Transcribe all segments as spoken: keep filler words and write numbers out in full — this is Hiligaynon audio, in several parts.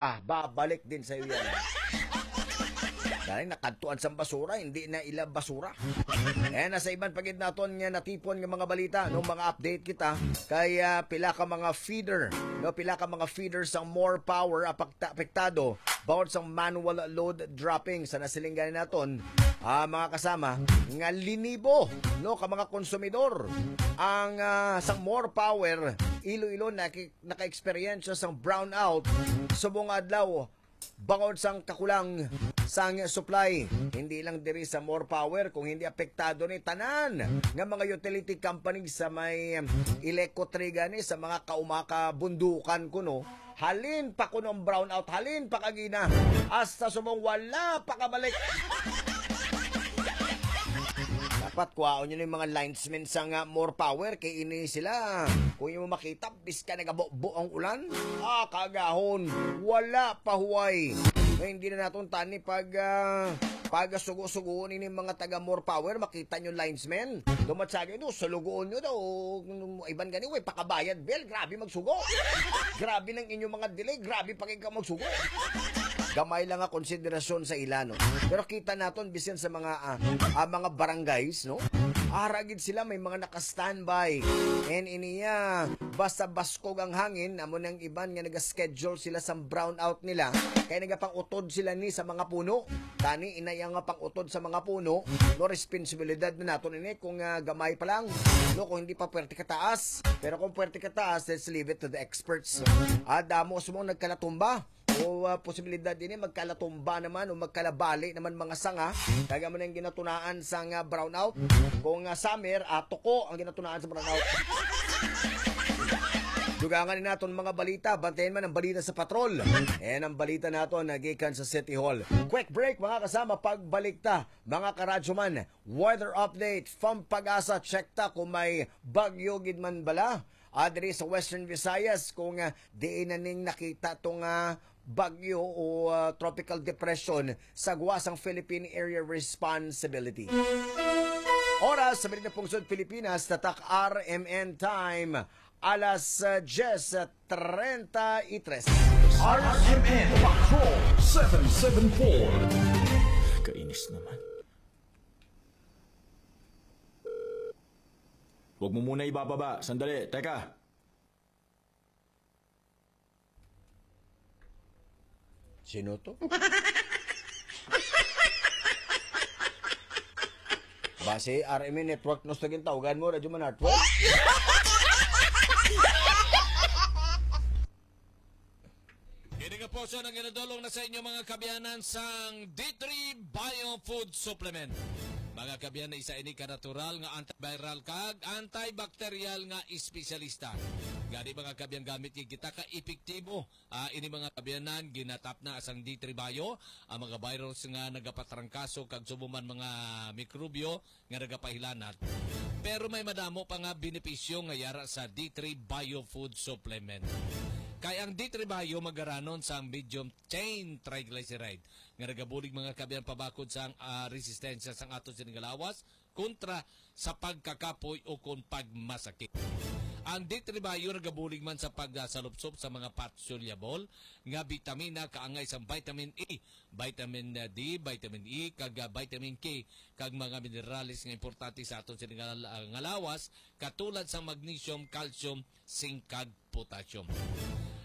Ah, babalik din sa iyo yan. Dahil nakadtuan sa basura, hindi na ila basura. Eh, nasa iban pa gid naton nga natipon nga mga balita, no, mga update kita kay, ah, pila ka mga feeder, no, pila ka mga feeder sang More Power apakta-, apektado bangod sang manual load dropping sa nasilingan naton, ah, mga kasama, nga linibo, no, ka mga konsumidor ang, ah, sang More Power Iloilo naki-, naka-eksperyensya sang brownout subong adlaw bangod sang kakulang sang supply. Hindi lang diri sa More Power, kung hindi apektado ni tanan nga mga utility company sa may Ileco Triga ni sa mga kaumaka bundukan kuno. Halin pa kuno ang brownout, halin pa kagina, hasta subong wala pa kabalik. Dapat kuhaon nyo yung mga linesmen sa nga More Power kay ini sila. Kung yung makita, biska nagabubo ang ulan, ah, kagahon, wala pa huway. Nga hindi na naton tani pag, ah, pag sugo-sugoon ini mga taga More Power, makita nyo linesmen. Dumatsagay no, sulugoon nyo daw. Iban gani, way pakabayad, Bel. Grabe magsugo. Grabe nang inyong mga delay. Grabe pa kayo magsugo. Gamay lang nga konsiderasyon sa ila, no? Pero kita naton, bisan sa mga, ah, ah, mga barangays, no? Ara gid sila, may mga naka-standby. And iniya, basta baskog ang hangin, amo nang iban nga nag-schedule sila sa brownout nila. Kay nagapang-utod sila ni sa mga puno. Tani, inay ang pang-utod sa mga puno, no, responsibilidad na naton ini kung, ah, gamay pa lang, no, kung hindi pa pwerte kataas. Pero kung pwerte kataas, let's leave it to the experts. Ah, damo sa mga nagkalatumba. O, ah, posibilidad ini magkalatumba naman o magkalabali naman mga sanga. Kaya mo na yung ginatunaan sa nga brownout. Kung, ah, summer, ah, tuko ang ginatunaan sa brownout. Dugangan ni naton mga balita, bantayan man ang balita sa patrol. And ang balita naton nagikan sa City Hall. Quick break, mga kasama, pagbalik ta, mga karadyo man. Weather update from Pag-asa, check ta kung may bagyo gid man bala. Ah, diri sa Western Visayas, kung, ah, diin na ning nakita tong, ah, bagyo o, ah, tropical depression sa gwa sang Philippine Area Responsibility. Oras sa Merida Pungsod, Pilipinas, tatak R M N time, alas, ah, diyes treinta y tres. R M N Patrol seven seven four. Kainis naman. Huwag mo muna ibababa. Sandali, teka. Sino to? Base R M N Network, no, sa gintawgan mo, Radyo Manartwork. Kini nga portion ang ginadulong na sa inyo, mga kaabyanan, sang D three Bio Food Supplement. Mga kaabyanan, isa ini ka natural nga antiviral kag antibacterial nga espesyalista. Gani, mga kaabyanan, gamit gid kita ka epektibo. Ah, ini, mga kaabyanan, ginatapna sang D three Bio ang mga virus nga nagapatrangkaso kag subong man mga mikrobyo nga nagapahilanat. Pero may madamo pa nga benepisyo nga yara sa D three Bio Food Supplement. Kay ang D three Bio magaranon sang medium chain triglyceride nga nagabulig, mga kaabyanan, pabakod sang, ah, resistensya sang aton sining nga lawas kontra sa pagkakapoy o kon pagmasakit. Ang D three Bio nagabulig man sa pagsalupsop sa mga fat-soluble nga bitamina kaangay sang vitamin E, vitamin D, vitamin E, kag, ah, vitamin K, kag mga minerales nga importante sa aton sining nga, nga lawas, katulad sang magnesium, calcium, zinc, kag potassium.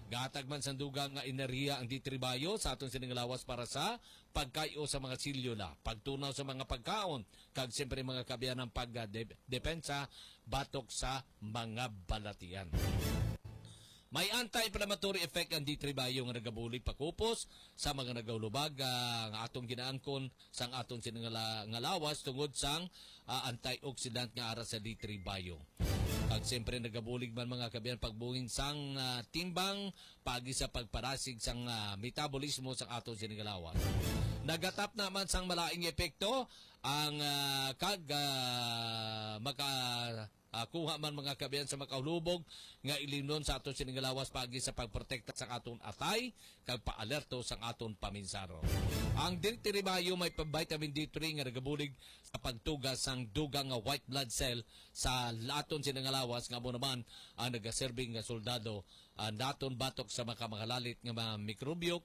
Gahatag man sang dugang nga enerhiya ang D three Bio sa aton sining lawas para sa pagkay-o sa mga selyula, pagtunaw sa mga pagkaon, kag siyempre, mga kaabyanan, pag, ah, de-, depensa batok sa mga balatian. May anti-inflammatory effect ang D three Bio nga nagabulig pakupos sa mga nagahulubag, ah, nga atong ginaangkon sang aton sining nga la-, nga lawas tungod sang, ah, antioxidant nga ara sa D three Bio. Kag siyempre, nagabulig man, mga kaabyanan, pagbuhin sang, ah, timbang paagi sa pagparasig sang, ah, metabolismo sang aton sining nga lawas. Nagatapna man sang malaing epekto ang, ah, kag, ah, maka ah, kuha man, mga kabayan, sa makahulubog nga ilimnon sa aton sini nga lawas paagi sa pagprotekta sa aton atay kag paalerto sa aton paminsaro. Ang Dirty Ribayo may pa-, vitamin D three nga nagabulig sa pagtuga sang dugang nga white blood cell sa aton sini nga lawas, nga amo naman ang nagaserbi nga soldado, ah, naton batok sa makamahalalit nga mga mikrobyo,